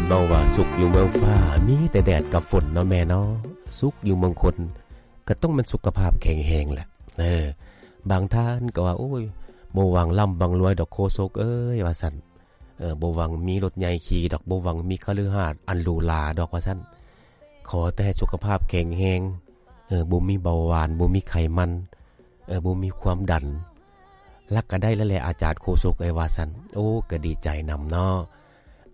ເວົ້າວ່າສຸກຢູ່ເມືອງຟ້າ ມີແຕ່ແດດກັບຝົນເນາະແມ່ເນາະ, ສຸກຢູ່ເມືອງຄົນ ກໍຕ້ອງແມ່ນສຸຂະພາບແຂງແຮງແຫຼະ. ເອີ ບາງທ່ານກໍວ່າ ໂອ້ຍ ບໍ່ຫວັງລ່ຳຫວັງລວຍດອກໂຄສົກເອີຍ ວ່າຊັ້ນ. ເອີ ບໍ່ຫວັງມີລົດໃຫຍ່ຂີ່ດອກ, ບໍ່ຫວັງມີຄະລືຫາດອັນຫຼູຫຼາດອກ ວ່າຊັ້ນ. ຂໍແຕ່ໃຫ້ສຸຂະພາບແຂງແຮງ, ເອີ ບໍ່ມີເບົາຫວານ, ບໍ່ມີໄຂມັນ, ເອີ ບໍ່ມີຄວາມດັນ, ລະກະໄດ້ແລ້ວແຫຼະ ອາຈານໂຄສົກເອີຍ ວ່າຊັ້ນ. ໂອ້ ກະດີໃຈນຳເນາະ.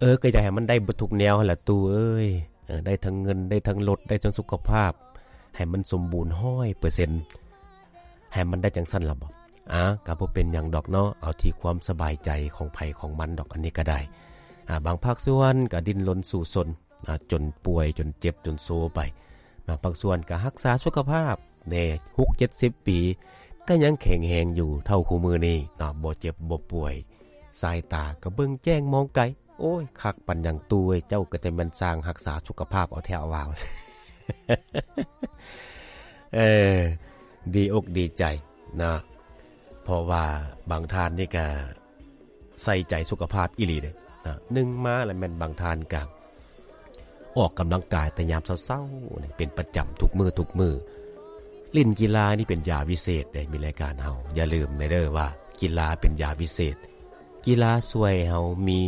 ເອີ ກະຢາກໃຫ້ມັນໄດ້ເບິດທຸກແນວຫັ້ນລະຕູ້ເອີຍ. ເອີ ໄດ້ທັງເງິນ, ໄດ້ທັງລົດ, ໄດ້ທັງສຸຂະພາບ, ໃຫ້ມັນສົມບູນຮ້ອຍເປີເຊັນ, ໃຫ້ມັນໄດ້ຈັ່ງຊັ້ນລະບໍ? ອາ ກະບໍ່ເປັນຫຍັງດອກເນາະ, ເອົາທີ່ຄວາມສະບາຍໃຈຂອງໃຜຂອງມັນດອກ, ອັນນີ້ກະໄດ້. ອາ ບາງພາກສ່ວນກະດີ້ນລົນສູ້ຊົນ, ອາ ຈົນປ່ວຍ, ຈົນເຈັບ, ຈົນໂຊໄປ. ບາງພາກສ່ວນກະຮັກສາສຸຂະພາບແດ່, ຫົກເຈັດສິບປີ ກະຍັງແຂງແຮງຢູ່ເທົ່າຄູ່ມື້ນີ້ເນາະ, ບໍ່ເຈັບບໍ່ປ່ວຍ, ສາຍຕາກະເບິ່ງແຈ້ງມອງໄກ. ໂອ້ຍ ຄັກປານຫຍັງຕູ້ເອີຍ, ເຈົ້າກໍຈະແມ່ນຊ່າງຮັກສາສຸຂະພາບເອົາແທ້ເອົາວ່າ. ເອີ ດີອົກດີໃຈນະ, ເພາະວ່າບາງທ່ານນີ້ກະໃສ່ໃຈສຸຂະພາບອີ່ຫຼີເດ້ນະ. ໜຶ່ງມາລະແມ່ນບາງທ່ານກະອອກກຳລັງກາຍແຕ່ຍາມເຊົ້າໆ ເປັນປະຈຳທຸກມື້ທຸກມື້. ຫຼິ້ນກິລານີ້ເປັນຢາວິເສດເດ້, ມີລາຍການເຮົາ ຢ່າລືມແນ່ເດີວ່າກິລາເປັນຢາວິເສດ. ກິລາຊ່ວຍໃຫ້ເຮົາມີ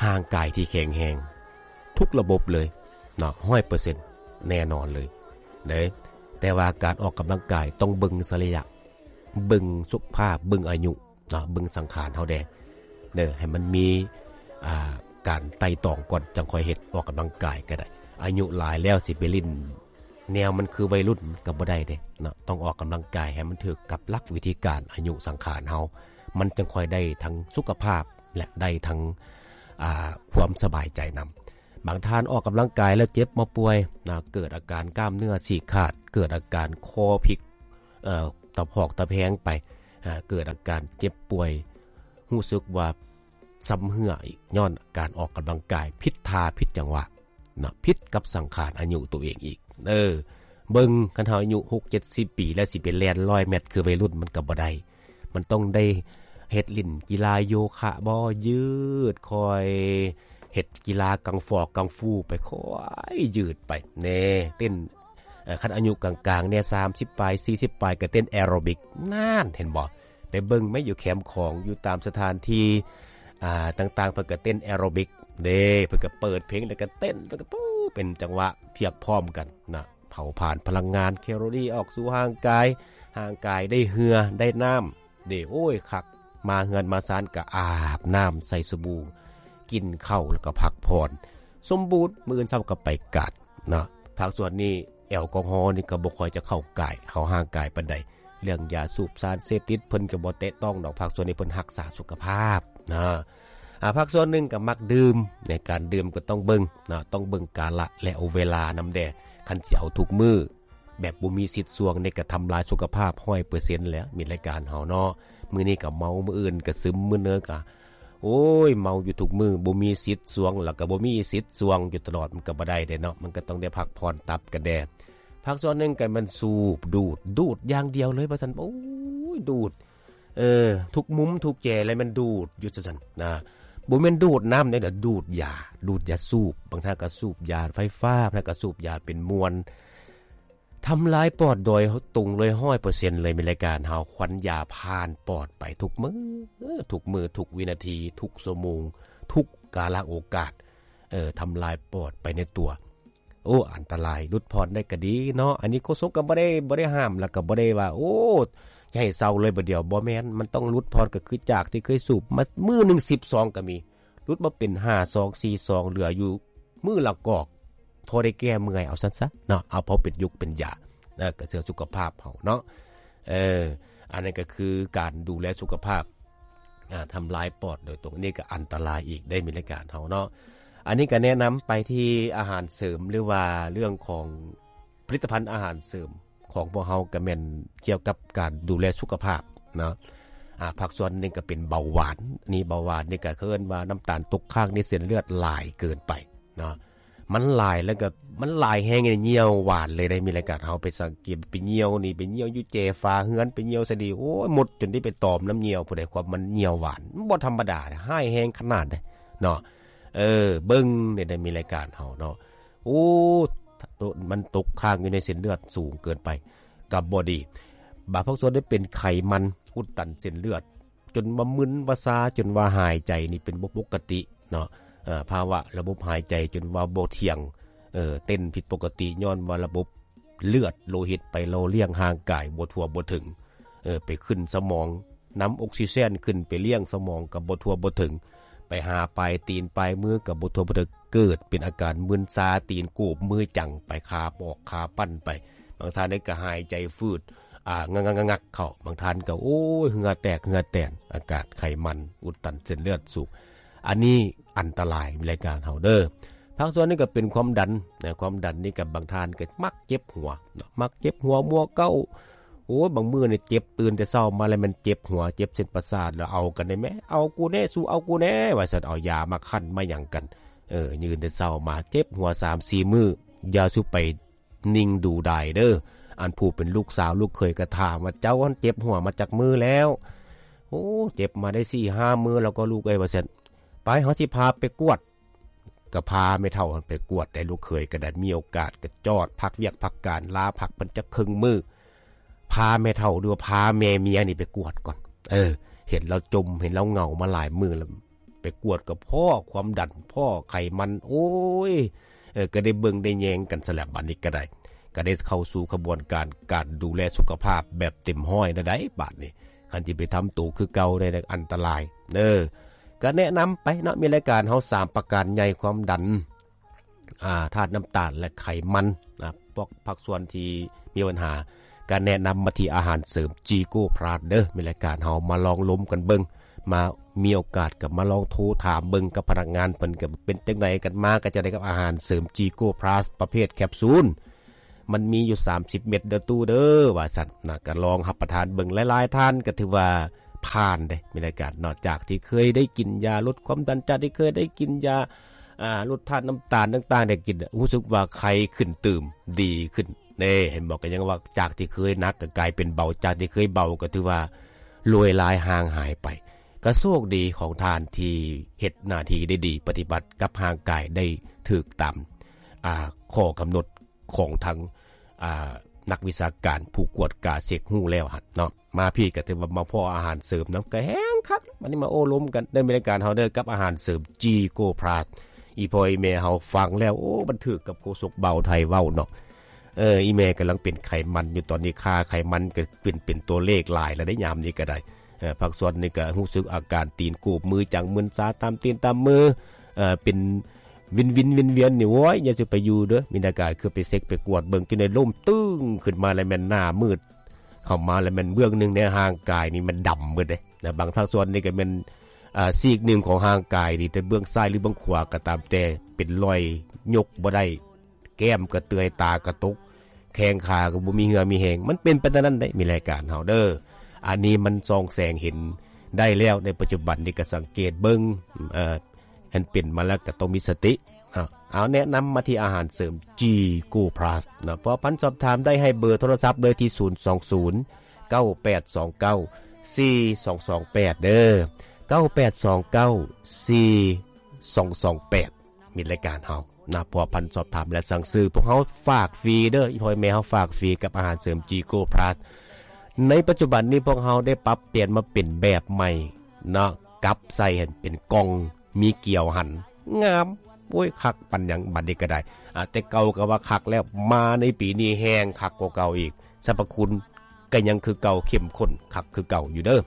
ຮ່າງກາຍທີ່ແຂງແຮງທຸກລະບົບເລີຍເນາະ, ຮ້ອຍເປີເຊັນ ແນ່ນອນເລີຍເດ້. ແຕ່ວ່າການອອກກຳລັງກາຍຕ້ອງເບິ່ງສະໄລຍະ, ເບິ່ງສຸຂະພາບ, ເບິ່ງອາຍຸເນາະ, ເບິ່ງສັງຂານເຮົາແດ່ເດີ, ໃຫ້ມັນມີ ອ່າ ການໄຕ່ຕອງກ່ອນ ຈັ່ງຄ່ອຍເຮັດ, ອອກກຳລັງກາຍກໍໄດ້. ອາຍຸຫຼາຍແລ້ວຊິໄປຫຼິ້ນ ແນວມັນຄືໄວລຸ້ນກໍບໍ່ໄດ້ເດ້ເນາະ, ຕ້ອງອອກກຳລັງກາຍໃຫ້ມັນຖືກກັບຫຼັກວິທີການອາຍຸສັງຂານເຮົາ, ມັນຈັ່ງຄ່ອຍໄດ້ທັງສຸຂະພາບ ແລະ ໄດ້ທັງ ອ່າ ຄວາມສະບາຍໃຈນຳ. ບາງທ່ານອອກກຳລັງກາຍແລ້ວເຈັບມາປ່ວຍນະ, ເກີດອາການກ້າມເນື້ອສີກຂາດ, ເກີດອາການຄໍພິກ, ເອີ ຕະຜອກຕະແພງໄປ, ເກີດອາການເຈັບປ່ວຍ, ຮູ້ສຶກວ່າຊຳເຮື້ອອີກ ຍ້ອນການອອກກຳລັງກາຍຜິດທ່າຜິດຈັງຫວະ. ນະ, ຜິດກັບສັງຂານອາຍຸໂຕເອງອີກ. ເອີ ເບິ່ງ ຄັນເຮົາອາຍຸຫົກເຈັດສິບປີແລ້ວ ຊິໄປແລ່ນຮ້ອຍແມັດຄືໄວລຸ້ນ ມັນກໍບໍ່ໄດ້. ມັນຕ້ອງໄດ້ເຮັດຫຼິ້ນກິລາໂຍຄະບໍ, ຢືດ, ຄ່ອຍເຮັດກິລາກັງຟໍກັງຟູໄປ, ຄ່ອຍຢືດໄປແນ່, ເຕັ້ນ ເອີ ຄັນອາຍຸກາງໆແນ່ ສາມສິບປາຍ ສີ່ສິບປາຍ ກໍເຕັ້ນແອໂຣບິກ. ນັ້ນ ເຫັນບໍ່? ໄປເບິ່ງໄໝ ຢູ່ແຄມຂອງ ຢູ່ຕາມສະຖານທີ່ ອ່າ ຕ່າງໆ ເພິ່ນກໍເຕັ້ນແອໂຣບິກເດ້, ເພິ່ນກໍເປີດເພງ ແລ້ວກໍເຕັ້ນ ແລ້ວກໍ ປູ ເປັນຈັງຫວະພຽບພ້ອມກັນນະ, ເຜົາຜານພະລັງງານແຄໂລຣີອອກສູ່ຮ່າງກາຍ, ຮ່າງກາຍໄດ້ເຫື່ອ ໄດ້ນ້ຳເດ້. ໂອ້ຍ ຄັກ, ມາເຮືອນມາຊານກໍອາບນ້ຳໃສ່ສະບູ, ກິນເຂົ້າ ແລ້ວກໍພັກຜ່ອນ ສົມບູນ, ມື້ອື່ນເຊົ້າກໍໄປກາດນະ. ພາກສ່ວນນີ້ ແອລກໍຮໍນີ້ກໍບໍ່ຄ່ອຍຈະເຂົ້າກາຍ ເຂົ້າຮ່າງກາຍປານໃດ. ເລື່ອງຢາສູບ, ສານເສບຕິດ ເພິ່ນກໍບໍ່ແຕະຕ້ອງດອກ, ພາກສ່ວນນີ້ເພິ່ນຮັກສາສຸຂະພາບນະ. ອາ ພາກສ່ວນໜຶ່ງກໍມັກດື່ມ, ໃນການດື່ມກໍຕ້ອງເບິ່ງນະ, ຕ້ອງເບິ່ງກາລະ ແລະ ເວລານຳແດ່. ຄັນຊິເອົາທຸກມື້ ແບບບໍ່ມີສິດສ່ວງນີ້ ກໍທຳລາຍສຸຂະພາບຮ້ອຍເປີເຊັນແລ້ວ, ມິດລາຍການເຮົາເນາະ. ມື້ນີ້ກໍເມົາ, ມື້ອື່ນກໍຊຶມ, ມື້ເນີກໍ ໂອ້ຍ ເມົາຢູ່ທຸກມື້, ບໍ່ມີສິດສ່ວງ ແລ້ວກໍບໍ່ມີສິດສ່ວງຢູ່ຕະຫຼອດ, ມັນກໍບໍ່ໄດ້ເດ້ເນາະ, ມັນກໍຕ້ອງໄດ້ພັກຜ່ອນຕັບກັນແດ່. ພາກສ່ວນໜຶ່ງກໍແມ່ນສູບ, ດູດ, ດູດຢ່າງດຽວເລີຍວ່າຊັ້ນ. ໂອ້ຍ ດູດ, ເອີ ທຸກມຸມທຸກແຈເລີຍແມ່ນດູດຢູ່ຊັ້ນນະ. ບໍ່ແມ່ນດູດນ້ຳເດ້, ດູດຢາ, ດູດຢາສູບ. ບາງທ່ານກໍສູບຢາໄຟຟ້າ, ບາງທ່ານກໍສູບຢາເປັນມວນ. ທຳລາຍປອດໂດຍຕົງເລີຍ ຮ້ອຍເປີເຊັນເລີຍ, ມີລາຍການເຮົາຄວັນຢາຜ່ານປອດໄປທຸກມື້, ທຸກມື້, ທຸກວິນາທີ, ທຸກຊົ່ວໂມງ, ທຸກກາລະໂອກາດ, ເອີ ທຳລາຍປອດໄປໃນຕົວ. ໂອ້ ອັນຕະລາຍ, ຫຼຸດຜ່ອນໄດ້ກໍດີເນາະ. ອັນນີ້ໂຄສົກກໍບໍ່ໄດ້, ບໍ່ໄດ້ຫ້າມ ແລ້ວກໍບໍ່ໄດ້ວ່າ ໂອ້ ຈະໃຫ້ເຊົາເລີຍບາດດຽວ, ບໍ່ແມ່ນ. ມັນຕ້ອງຫຼຸດຜ່ອນ, ກໍຄືຈາກທີ່ເຄີຍສູບມາ ມື້ໜຶ່ງສິບຊອງກໍມີ, ຫຼຸດມາເປັນຫ້າຊອງ ສີ່ຊອງ, ເຫຼືອຢູ່ມື້ລະກອກ, ພໍໄດ້ແກ້ເມື່ອຍ ເອົາຊັ້ນຊະເນາະ, ເອົາພໍເປັນຢູກເປັນຢາ, ເອີ ກໍເພື່ອສຸຂະພາບເຮົາເນາະ. ເອີ ອັນນັ້ນກໍຄືການດູແລສຸຂະພາບ, ອາ ທຳລາຍປອດໂດຍຕົງ, ອັນນີ້ກໍອັນຕະລາຍອີກເດ້, ມີລາຍການເຮົາເນາະ. ອັນນີ້ກໍແນະນຳໄປທີ່ອາຫານເສີມ ຫຼືວ່າເລື່ອງຂອງຜະລິດຕະພັນອາຫານເສີມ ຂອງພວກເຮົາກໍແມ່ນກ່ຽວກັບການດູແລສຸຂະພາບເນາະ. ອາ ພາກສ່ວນໜຶ່ງກໍເປັນເບົາຫວານ. ນີ້ເບົາຫວານນີ້ກໍເອີ້ນວ່ານ້ຳຕານຕົກຄ້າງໃນເສັ້ນເລືອດຫຼາຍເກີນໄປເນາະ. ມັນຫຼາຍແລ້ວກໍ ມັນຫຼາຍແຮງ ຍ່ຽວຫວານເລີຍໄດ໋. ມີລາຍການເຮົາໄປສັງເກດ ໄປຍ່ຽວນີ້ ໄປຍ່ຽວຢູ່ແຈຝາເຮືອນ ໄປຍ່ຽວໃສນີ້ ໂອ້ຍ ມົດຈົນໄດ້ໄປຕອມນ້ຳຍ່ຽວ. ຜູ້ໃດຄວາມມັນຍ່ຽວຫວານ ມັນບໍ່ທຳມະດາເດ ຮ້າຍແຮງຂະໜາດໃດເນາະ. ເອີ ເບິ່ງແດ່ ໄດ້ມີລາຍການເຮົາເນາະ. ໂອ້ ໂຕ ມັນຕົກຄ້າງຢູ່ໃນເສັ້ນເລືອດສູງເກີນໄປ ກໍບໍ່ດີ. ບາງພາກສ່ວນໄດ້ເປັນໄຂມັນອຸດຕັນເສັ້ນເລືອດ ຈົນວ່າມຶນວ່າຊາ ຈົນວ່າຫາຍໃຈນີ້ເປັນບໍ່ປົກກະຕິເນາະ. ເອີ ພາວະລະບົບຫາຍໃຈຈົນວ່າບໍ່ທ່ຽງ ເອີ ເຕັ້ນຜິດປົກກະຕິ ຍ້ອນວ່າລະບົບເລືອດໂລຫິດໄປຫຼໍ່ລ້ຽງຮ່າງກາຍບໍ່ທົ່ວບໍ່ເຖິງ ເອີ ໄປຂຶ້ນສະໝອງ ນຳອົກຊີເຈນຂຶ້ນໄປລ້ຽງສະໝອງກໍບໍ່ທົ່ວບໍ່ເຖິງ ໄປຫາປາຍຕີນປາຍມືກໍບໍ່ທົ່ວບໍ່ເຖິງ ເກີດເປັນອາການມຶນຊາ ຕີນໂກບ ມືຈັງໄປ ຂາປອກຂາປັ້ນໄປ. ບາງທ່ານນີ້ກໍຫາຍໃຈຝືດ ອ່າ ງັກໆໆໆເຂົ້າ ບາງທ່ານກໍ ໂອ້ຍ ເຫື່ອແຕກເຫື່ອແຕນ ອາກາດໄຂມັນອຸດຕັນເສັ້ນເລືອດສູງ. ອັນນີ້ອັນຕະລາຍ ມີລາຍການເຮົາເດີ. ພາກສ່ວນນີ້ກໍເປັນຄວາມດັນນະ ຄວາມດັນນີ້ກໍບາງທ່ານກໍມັກເຈັບຫົວເນາະ ມັກເຈັບຫົວມົວເກົາ. ໂອ້ຍ ບາງມື້ນີ້ເຈັບ ຕື່ນແຕ່ເຊົ້າມາແລ້ວແມ່ນເຈັບຫົວ ເຈັບເສັ້ນປະສາດ ແລ້ວເອົາກັນໄດ້ແມ້ ເອົາກູແນ່ ສູ້ເອົາກູແນ່ ວ່າຊັ້ນ ເອົາຢາມາຄັ້ນມາຫຍັງກັນ ເອີ ຕື່ນແຕ່ເຊົ້າມາເຈັບຫົວສາມສີ່ມື້ ຢ່າສູ່ໄປ ນິ່ງດູດາຍເດີ. ອັນຜູ້ເປັນລູກສາວລູກເຂີຍກໍຖາມວ່າ ເຈົ້າຫັ້ນເຈັບຫົວມາຈັກມື້ແລ້ວ? ໂອ້ ເຈັບມາໄດ້ສີ່ຫ້າມື້ແລ້ວກໍລູກເອີຍ ວ່າຊັ້ນ. ໄປ ເຮົາຊິພາໄປກວດ. ກໍພາແມ່ເຖົ້າຫັ້ນໄປກວດໄດ້ ລູກເຂີຍກໍໄດ້ມີໂອກາດ ກໍຈອດພັກວຽກພັກການ ລາພັກເພິ່ນຈັກເຄິ່ງມື້ ພາແມ່ເຖົ້າ ຫຼືວ່າພາແມ່ເມຍນີ້ໄປກວດກ່ອນ. ເອີ ເຫັນລາວຈົມ ເຫັນລາວເຫງົາມາຫຼາຍມື້ແລ້ວ ໄປກວດກໍພໍ້ຄວາມດັນ ພໍ້ໄຂມັນ ໂອ້ຍ ເອີ ກໍໄດ້ເບິ່ງໄດ້ແຍງກັນຊັ້ນແຫຼະ. ບາດນີ້ກໍໄດ້ ກໍໄດ້ເຂົ້າສູ່ຂະບວນການ ການດູແລສຸຂະພາບແບບເຕັມຮ້ອຍແລ້ວໃດ໋ ບາດນີ້. ຄັນຊິໄປທຳໂຕຄືເກົ່າໄດ້ ອັນຕະລາຍເດີ. ກໍແນະນຳໄປເນາະ ມີລາຍການເຮົາສາມປະການໃຫຍ່ ຄວາມດັນ ອ່າ ທາດນ້ຳຕານ ແລະ ໄຂມັນນະ. ພວກພາກສ່ວນທີ່ມີບັນຫາ ກໍແນະນຳມາທີ່ອາຫານເສີມຈີໂກພລັສເດີ. ມີລາຍການເຮົາມາລອງລົມກັນເບິ່ງ ມາ ມີໂອກາດກໍມາລອງໂທຖາມເບິ່ງກັບພະນັກງານເພິ່ນ ກໍເປັນຈັ່ງໃດກັນມາ ກໍຈະໄດ້ກັບອາຫານເສີມຈີໂກພລັສປະເພດແຄບຊູນ ມັນມີຢູ່ສາມສິບເມັດເດີຕູ້ເດີ ວ່າຊັ້ນນະ. ກໍລອງຮັບປະທານເບິ່ງ ຫຼາຍໆທ່ານກໍຖືວ່າຜ່ານເດ້ ມີລາຍການເນາະ. ຈາກທີ່ເຄີຍໄດ້ກິນຢາລົດຄວາມດັນ ຈາກທີ່ເຄີຍໄດ້ກິນຢາ ອ່າ ລົດທາດນ້ຳຕານຕ່າງໆ ໄດ້ກິນ ຮູ້ສຶກວ່າໄຄຂຶ້ນຕື່ມ ດີຂຶ້ນເດ້ ເຫັນບໍ່? ກໍຍັງວ່າຈາກທີ່ເຄີຍໜັກກໍກາຍເປັນເບົາ ຈາກທີ່ເຄີຍເບົາກໍຖືວ່າລວຍລາຍຫ່າງຫາຍໄປ. ກໍໂຊກດີຂອງທ່ານທີ່ເຮັດໜ້າທີ່ໄດ້ດີ ປະຕິບັດກັບຮ່າງກາຍໄດ້ຖືກຕາມ ອ່າ ຂໍ້ກຳນົດ ຂອງທາງ ອ່າ ນັກວິຊາການຜູ້ກວດກາເຊັກຮູ້ແລ້ວຫັ້ນເນາະ. ມາພີ້ກໍຖືວ່າມາພໍ້ອາຫານເສີມນຳ ກໍແຮ່ງຄັກ. ບັດນີ້ມາໂອ້ລົມກັນເດີ ມີລາຍການເຮົາເດີ ກັບອາຫານເສີມຈີໂກພລັສ. ອີ່ພໍ່ອີ່ແມ່ເຮົາຟັງແລ້ວ ໂອ້ ມັນຖືກກັບໂຄສົກບ່າວໄທເວົ້າເນາະ. ເອີ ອີ່ແມ່ກຳລັງເປັນໄຂມັນຢູ່ຕອນນີ້ ຄ່າໄຂມັນກໍຂຶ້ນເປັນຕົວເລກຫຼາຍແລ້ວເດ້ ຍາມນີ້ກໍໄດ້. ເອີ ພາກສ່ວນນີ້ກໍຮູ້ສຶກອາການຕີນໂກບ ມືຈັງ ມຶນຊາຕາມຕີນຕາມມື ເອີ ເປັນ ວິນວິນວຽນໆນີ້ ໂອ້ຍ ຢ່າຊິໄປຢູ່ເດີ. ມີອາການຄືໄປເຊັກໄປກວດເບິ່ງ ຈັ່ງໃດລົມຕຶ້ງຂຶ້ນມາແລ້ວແມ່ນໜ້າມືດ ເຂົ້າມາແລ້ວແມ່ນເບື້ອງໜຶ່ງໃນຮ່າງກາຍນີ້ມັນດຳໝົດເດ້. ແລະ ບາງພາກສ່ວນນີ້ກໍແມ່ນ ອ່າ ຊີກໜຶ່ງຂອງຮ່າງກາຍນີ້ ແຕ່ເບື້ອງຊ້າຍ ຫຼື ເບື້ອງຂວາກໍຕາມແຕ່ ເປັນລອຍຍົກບໍ່ໄດ້ ແກ້ມກະເຕືອຍ ຕາກະຕົກ ແຂ້ງຂາກໍບໍ່ມີເຫື່ອມີແຮງ. ມັນເປັນໄປແນວນັ້ນເດ້ ມີລາຍການເຮົາເດີ. ອັນນີ້ມັນສ່ອງແສງເຫັນໄດ້ແລ້ວ ໃນປັດຈຸບັນນີ້ກໍສັງເກດເບິ່ງ ເອີ ອັນເປັນມາແລ້ວກໍຕ້ອງມີສະຕິເນາະ. ເອົາ ແນະນຳມາທີ່ອາຫານເສີມຈີໂກພລັສເນາະ. ເພາະພັນສອບຖາມໄດ້ໃຫ້ເບີໂທລະສັບເລີຍທີ່ ສູນສອງສູນ ເກົ້າແປດສອງເກົ້າ ສີ່ສອງສອງແປດ ເດີ ເກົ້າແປດສອງເກົ້າ ສີ່ສອງສອງແປດ. ມີລາຍການເຮົານະ ພົວພັນສອບຖາມ ແລະ ສັ່ງຊື້ ພວກເຮົາຝາກຟຣີເດີ ອີ່ພໍ່ອີ່ແມ່ເຮົາຝາກຟຣີກັບອາຫານເສີມຈີໂກພລັສ. ໃນປັດຈຸບັນນີ້ພວກເຮົາໄດ້ປັບປ່ຽນມາເປັນແບບໃໝ່ເນາະ ກັບໃສ່ຫັ້ນເປັນກ່ອງ ມີກຽວຫັ້ນ ງາມ ໂອ້ຍ ຄັກປານຫຍັງ ບັດນີ້ກໍໄດ້. ອາ ແຕ່ເກົ່າກໍວ່າຄັກແລ້ວ ມາໃນປີນີ້ແຮ່ງຄັກກວ່າເກົ່າອີກ ສັບພະຄຸນກໍຍັງຄືເກົ່າ ເຂັ້ມຂຸ້ນຄັກຄືເກົ່າຢູ່ເດີ.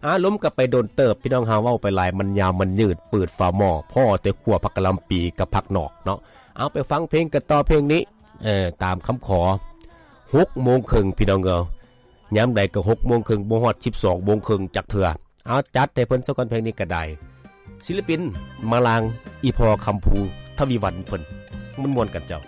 ອາ ລົມກັນໄປດົນເຕີບ ພີ່ນ້ອງເຮົາເວົ້າໄປຫຼາຍ ມັນຍາວມັນຍືດ ປືດຝາໝໍ້ ພໍແຕ່ຂົ້ວຜັກກະຫຼ່ຳປີກັບຜັກນອກເນາະ. ເອົາ ໄປຟັງເພງກັນຕໍ່ ເພງນີ້ ເອີ ຕາມຄຳຂໍ ຫົກໂມງເຄິ່ງ ພີ່ນ້ອງເອີຍ ຍາມໃດກໍຫົກໂມງເຄິ່ງ ບໍ່ຮອດສິບສອງໂມງເຄິ່ງຈັກເທື່ອ. ເອົາ ຈັດໃຫ້ເພິ່ນຊະກ່ອນ ເພງນີ້ກໍໄດ້ ສິລະປິນມາລາງ ອີ່ພໍ່ຄຳພູ ທະວີວັນ ເພິ່ນມ່ວນໆກັນເຈົ້າ.